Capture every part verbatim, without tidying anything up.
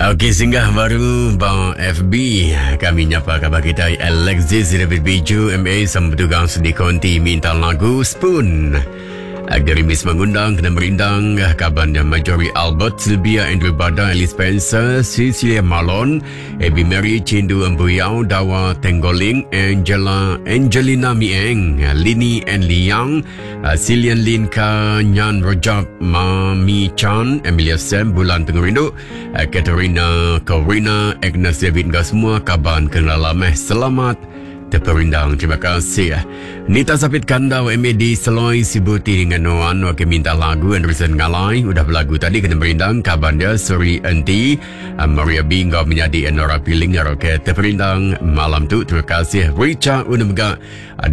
Okey, singgah baru ba F B. Kami nyapa khabar kita Alexis David Biju M A sama bertugas di konti minta lagu Spoon. Gerimis mengundang kena merindang kaban Marjorie Albert, Sylvia Andrew Bada, Alice Spencer, Cecilia Malon, Abby Mary, Chindu Embuyau, Dawa Tenggoling, Angela Angelina Mieng, Lini and Liang, Silian Lin Ka, Nyan Rojab, Mami Chan, Emilia Sam, Bulan Pengerindu, Katerina Corina, Agnes David, dan semua kaban kena lameh. Selamat terperindang. Terima kasih. Nita Sapit Kandau M A D Seloi Sibuti dengan Noan wakil minta lagu Anderson Ngalai. Udah berlagu tadi kena merindang kaban dia Suri Enti, Maria B ngau menjadi Enora Piling. Okey, terperindang malam tu. Terima kasih. Richard Unemga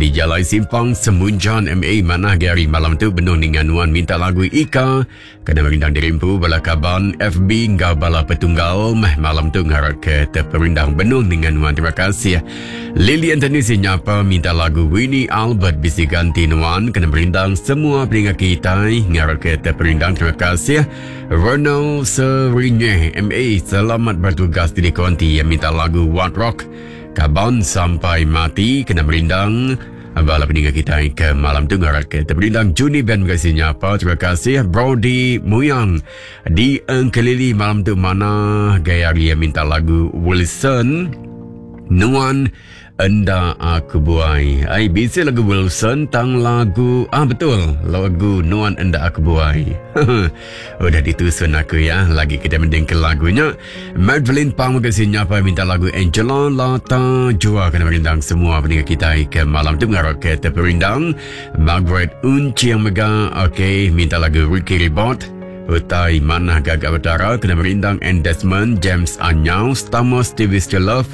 di Jalai Simpang Semunjan M A mana Gary malam tu benung dengan Nuan minta lagu Ika kena merindang dirimpu bala kaban F B ngau bala petunggal meh malam tu ngarap ke terperindang benung dengan Nuan. Terima kasih. Lily Anthony sinyapa minta lagu Winnie Albert bisi ganti Nuan kena merindang semua peningat kita ngarap ke terperindang. Terima kasih. Ronald Serinye M A selamat bertugas di konti yang minta lagu What Rock Kaban Sampai Mati kena merindang bala peninggal kita ke malam tu ngarap ke terperindang. Juni Ben kasih nyapa. Terima kasih. Brody Muyang di Engkelili malam tu mana gaya dia minta lagu Wilson Nuan Enda Aku Buai. Ai bisa lagu Wilson tang lagu ah betul lagu Nuan Enda Aku Buai. Udah ditusun aku ya. Lagi kita mending ke lagunya. Madeline Pang kasih nyapa minta lagu Angela Lata Jua kena merindang semua pendengar kita ke malam tu ngarap ke terperindang. Margaret Unciang Mega okey minta lagu Ricky Ribot Utai Manah Gagak Betara kena merindang and Desmond James Anyau Stamos T V Still Love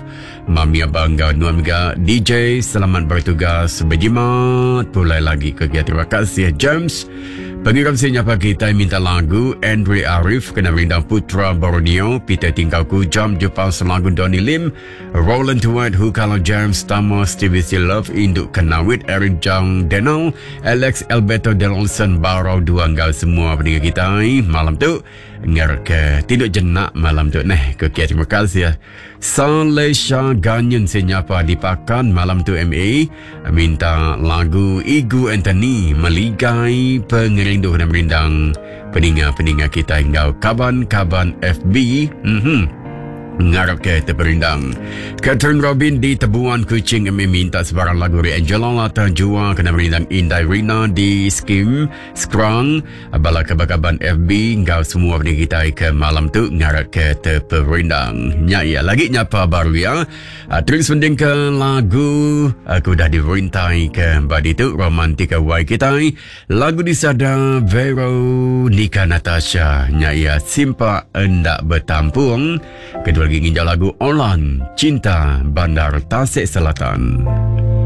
Mami Abang Gau Nuan Mega D J selamat bertugas berjimat pulai lagi ke kia. Terima kasih James. Pengiram sinyapa kita minta lagu Andre Arif kena merindang Putra Borneo Peter Tingkau Kujam Jepang Selagun Donny Lim Roland Tuat Hukalo James Tamos T V C Love Induk Kenawit Eric Jang Denal Alex Alberto Delonson Barau Dua Enggau semua pendengar kita malam tu ngar ke tidur jenak malam tu neh ke kia. Terima kasih. Salesha Ganyen sinyapa dipakan malam tu M A minta lagu Igu Anthony Meligai Pengerindu dan merindang peninga-peninga kita enggau kaban-kaban F B. Mhm. Ngarap ke terperindang. Catherine Robin di Tebuan Kuching M A minta sebarang lagu dari Angela Lata Jua kena merindang Indai Rina di Skim Skrang bala kaban-kaban F B enggau semua pendengar kita ke malam tu ngarap ke terperindang. Nya ya lagi nyapa baru ya. Terus mending ke lagu aku dah dirintai ke badi tu Romantika Y kita. Lagu disada Veronica Natasha. Nya ya Simpa Endak Bertampung. Kedua lagi nginjau lagu Olan Cinta Bandar Tasik Selatan.